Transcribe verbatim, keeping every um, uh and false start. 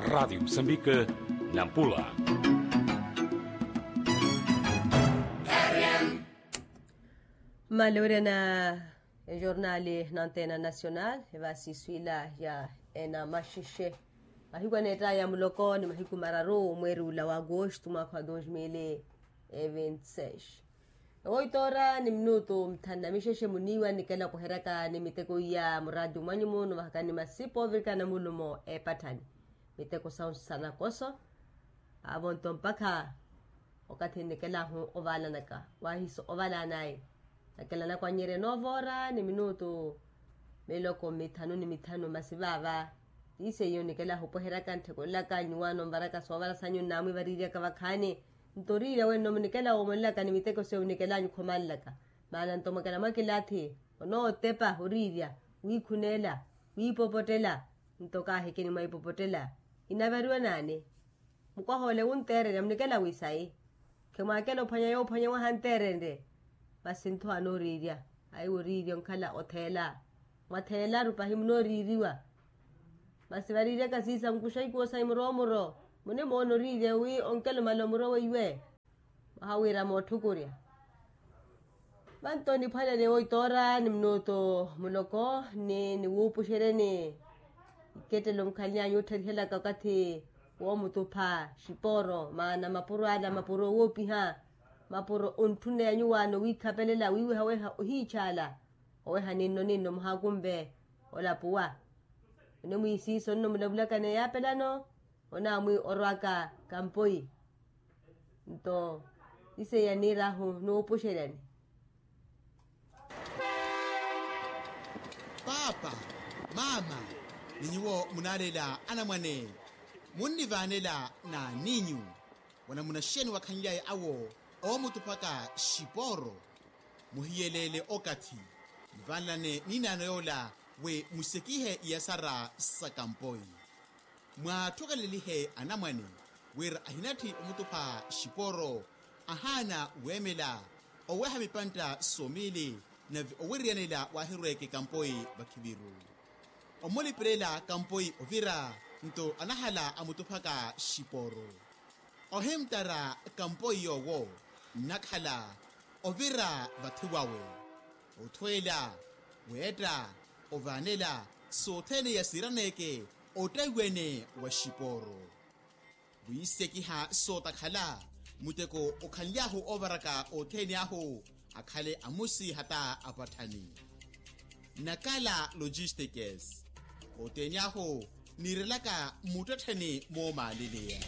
Radiyo musambika, nampula. Mmaale wira na ejornali na antena nacional evasi iswila ya enamaxexe. Mahiku aneettaya muloko ni mahiku mararu mweeri ula wa agosto mwakha wa dos mil e vinti seis. Oito ora ni minutu mithanu na mixexe muniiwa nikela kuheryaka ni miteko iya muraati mwanyu munu vahakani masipa ovirikana mulumo epatthani. Miteko sawu sanakoso. Aavo nto mpakha okathi nikelahu ovaalanaka wahiso ovalaanaye. Nakelanaka wanyeryani ovoora ni minutu miloko mithanu ni mithanu masi vaava. Tiise iyo nikelahu opweheryaka ntthekolelaka nyuwaano nvaraka soovara sanyu nnamwiivariiryaka vakhaani. Nto oriirya wenno munikela woomonelaka ni miteko seyo munikelanyu khomanlaka. Maana nto mwakela mwakilaathi onootepa oriirya wiikhuneela wiipopottela. Nto kaahikeni mwaipopottela inavariwa naani? Mukwaha ole wunteererya munikela wiisayi. Khemwaakela ophwanya yoophwanya wahanteererye. Masi ntho anooriirya aiwo oriirya onkhala otheela. Mwatheelaru pahi munooriiriwa. Masi variiryaka siisankuxa ikuwo sayi muro muro. Munimoona oriirya wi onkela omala omuro weiwe. Mwaha wiira mootthukurya. Vanto niphwanene oito ora ni minutu muloko ni niwuupuxeryeni. Ikettelo mukhaly'anyu ottharihelaka okathi woomutupha xipooro maana mapuro ala mapuro owoopiha. Mapuro ontthuneya nyuwaano wiikhapelela wiiwehaweha ohiitxaala. Oweha ninno ninno muhaakumve olapuwa. Onimwiisiisa onnomulavulaka n'eyaapelano. Onaamwi orwaka kampoyi. Nto ise yaniir'ahu nuupuxeryani. Paapa, maama, ni nyuwo munaalela anamwane munnivaanela n'aniinyu. Wanamunaxeni wakhanlyaye awo oomutuphaka xipooro. Muhiyeleele okathi muvanlane ninaano yoola wi musekihe iyasara sa kampoyi. Mwaathokelelihe anamwane wira ahinatthi omutupha xipooro. Ahaana weemela oweha mipantta somiili nave owiriyanela waahirweeke kampoyi vakhiviru. Omulipelela kampoyi ovira nto anahala amutuphaka xipooro. Ohimttara kampoyi yoowo nnakhala ovira vathi wawe. Othweela weetta ovaanela sothene iya siiraneeke ottaiwene wa xipooro. Wiisekiha sootakhala muteko okhanly'ahu oovaraka othene ahu akhale amusi hata apatthani. Nakala logistikes othene ahu niirelaka mmuttettheni moomaaleleya.